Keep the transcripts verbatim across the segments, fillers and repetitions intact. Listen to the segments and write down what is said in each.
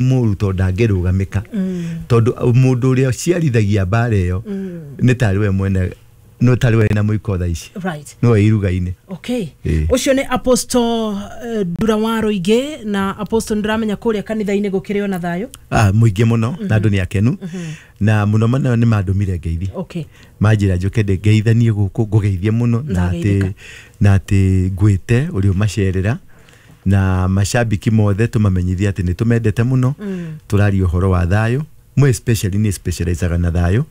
Mũru tondũ ndangĩrũgamĩka, tondũ mũndũ ũrĩa ũciarithagia mbara ĩyo nĩ tarĩ we mwene, no tarĩ we na mũiko thaa ici, right no iruga-inĩ. Okay. Ĩĩ. Ũcio nĩ Apostle uh, Ndura wa Rũingĩ. Na Apostle, nĩndĩramenya kũrĩa kanitha-inĩ gũkĩrĩ ona thayũ. Ah, mũingĩ mũno, na andũ nĩ akenu, na mũno mũno nĩ mandũmire ngeithi, okay manjĩra njũke ngeithanie gũkũ, ngũgeithie mũno na atĩ Ndageithĩka. Na atĩ ngwĩte ũrĩa ũmacerera na macambiki mothe, tũmamenyithie atĩ nĩ tũmendete mũno. Tũraria ũhoro wa thayũ mwe, especially nĩ specializaga na thayũ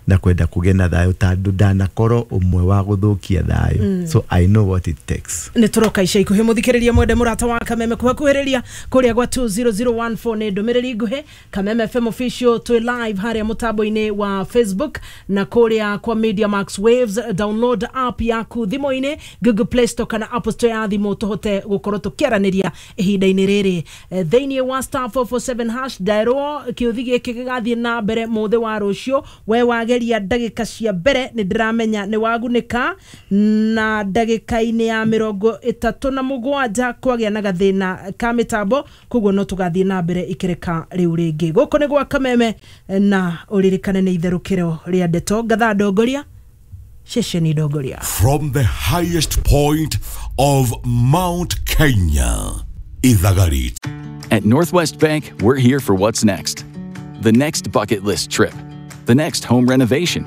na kwenda kũgĩa na thayũ, tondũ ndanakorwo ũmwe wa gũthũkia thayũ, so I know what it takes. Nä tå roka ica ikuhä. Må thikä rä ria mwende, må rata wa Kameme, kũhakuhĩrĩria kũrĩa gwa two zero zero one four nĩ ndũmĩrĩri nguhĩ. Kameme F M Official twĩ live harĩa mũtambo-inĩ wa Facebook na kũrĩa kwa Media Max Waves. Download app yaku thimũ-inĩ, Google Play Store kana Apple Store ya thimũ, tũhote gũkorwo tũkĩaranĩria ihinda-inĩ rĩrĩ. Eh, thĩinĩ wa star four four seven hash, nderwo kĩũthi gĩkĩ gĩgathiĩ na mbere mũthĩ wa rũciũ. We wageria ndagĩka cia mbere, nĩ ndĩramenya nĩ wagunĩka, na ndagĩka-inĩ ya mĩrongo ĩtatũ na mũgwanja kwagĩa na gathĩna ka mĩtambo, koguo no tũgathiĩ na mbere ikĩreka rĩu rĩngĩ. Gũkũ nĩ gwa Kameme, na ũririkane nĩ itherũkĩro rĩa ndeto ngatha ndongoria ceceni ndongoria. From the highest point of Mount Kenya, Ithagarit. At Northwest Bank, we're here for what's next. The next bucket list trip, the next home renovation,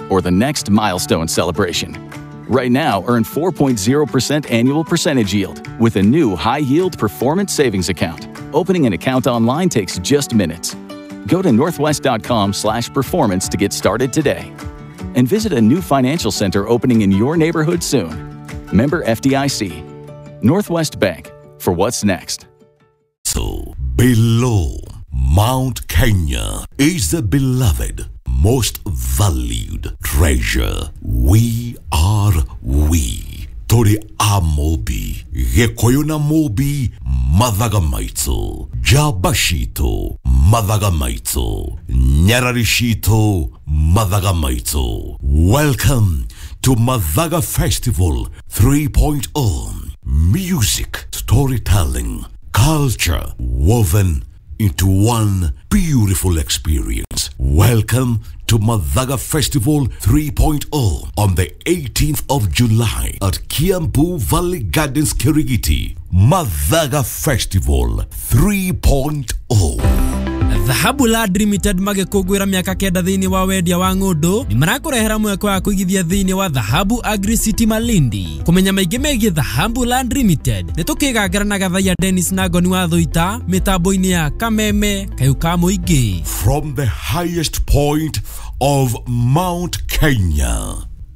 or the next milestone celebration. Right now, earn four point zero percent annual percentage yield with a new high yield performance savings account. Opening an account online takes just minutes. Go to northwest dot com slash performance to get started today. And visit a new financial center opening in your neighborhood soon. Member F D I C. Northwest Bank, for what's next. So, below Mount Kenya is the beloved, most valued treasure. We are we. Tũrĩ a Mũmbi, Gĩkũyũ na Mũmbi, mathaga maitũ, njamba citũ, mathaga maitũ, nyarari citũ, mathaga maitũ. Welcome to Mathaga Festival 3.0. Music, storytelling, culture woven into one beautiful experience. Welcome to Mathaga Festival 3.0 on the eighteenth of July at Kiambu Valley Gardens, Kirigiti. Mathaga Festival 3.0. Dhahabu Land Limited magĩkũngũĩra mĩaka kenda thĩinĩ wa wendia wa ng'ũndũ, nĩ marakũrehera mweke wa kũigithia thĩinĩ wa Dhahabu Agri City Malindi. Kũmenya maingĩ megiĩ Dhahabu Land Limited, nĩ tũkĩgangara na Gathaiya Dennis na Ngoni wa Thũita mĩtambo-inĩ ya Kameme kayũ ka mũingĩ. From the highest point of Mount Kenya,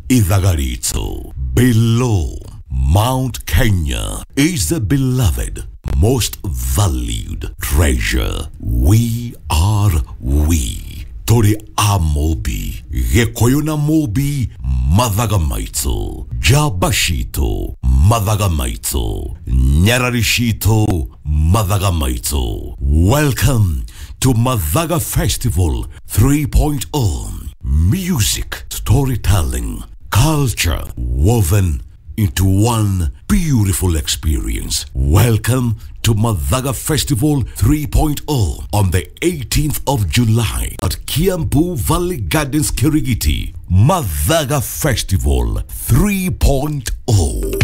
Ithagarito. Below Mount Kenya is the beloved, most valued treasure. We are we. Tũrĩ a Mũmbi, Gĩkũyũ na Mũmbi, mathaga maitũ, njamba citũ, mathaga maitũ, nyarari citũ, mathaga maitũ. Welcome to Mathaga Festival 3.0. Music, storytelling, culture woven into one beautiful experience. Welcome to Mathaga Festival 3.0 on the eighteenth of July at Kiambu Valley Gardens, Kirigiti. Mathaga Festival 3.0.